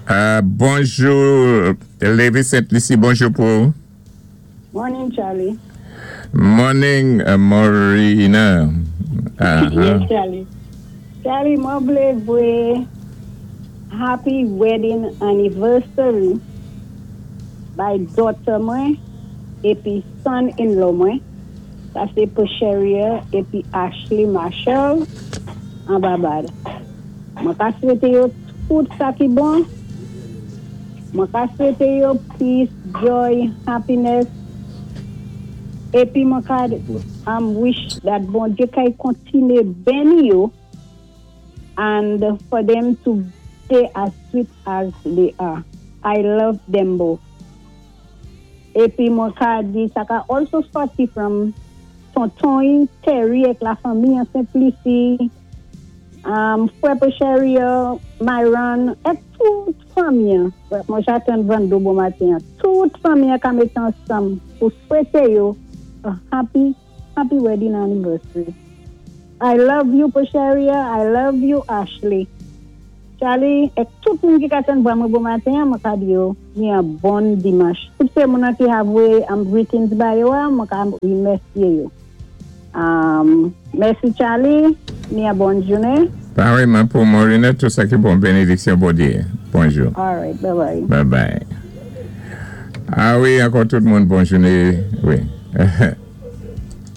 Bonjou, Lévi Saint Lucie, bonjou pou ou. Morning, Charlie. Morning, Morina. Yes, Charlie. Charlie, mwen vlé voyé happy wedding anniversary bay daughter mwen épi son-in-law mwen. Sa sé Posheria épi Ashley Marshall an Barbad. Mwen ka swété yo tout sa ki bon. Mwen ka swété yo peace, joy, happiness. Épi mwen ka wish that Bondyé kay kontiné béni yo and for them to stay as sweet as they are. I love them both. Épi mwen ka di sa ka also sòti from tonton Terry ak la fanmi an Saint Lucie, frè Posheria, Myron, ak tout fanmi an. Mwen jaten vando bon maten. Tout fanmi an ka mété ansanm pou swété yo a happy, happy wedding anniversary. I love you, Posheria. I love you, Ashley. Charlie, ak tout moun ki ka tann vwa mwen bon maten, mwen ka di yo, ni an bon dimanch. Tout sé moun an ki ka voyé greetings ba yo, mwen ka remèsyé yo. Mèsi, Charlie, ni an bon jounen. Pareillement pou Morina, tout sa ki bon, bénédiksyon Bondyé. Bonjou. All right, bye bye. Bye bye. Ah wi, ankò tout moun, bon jounen. Wi.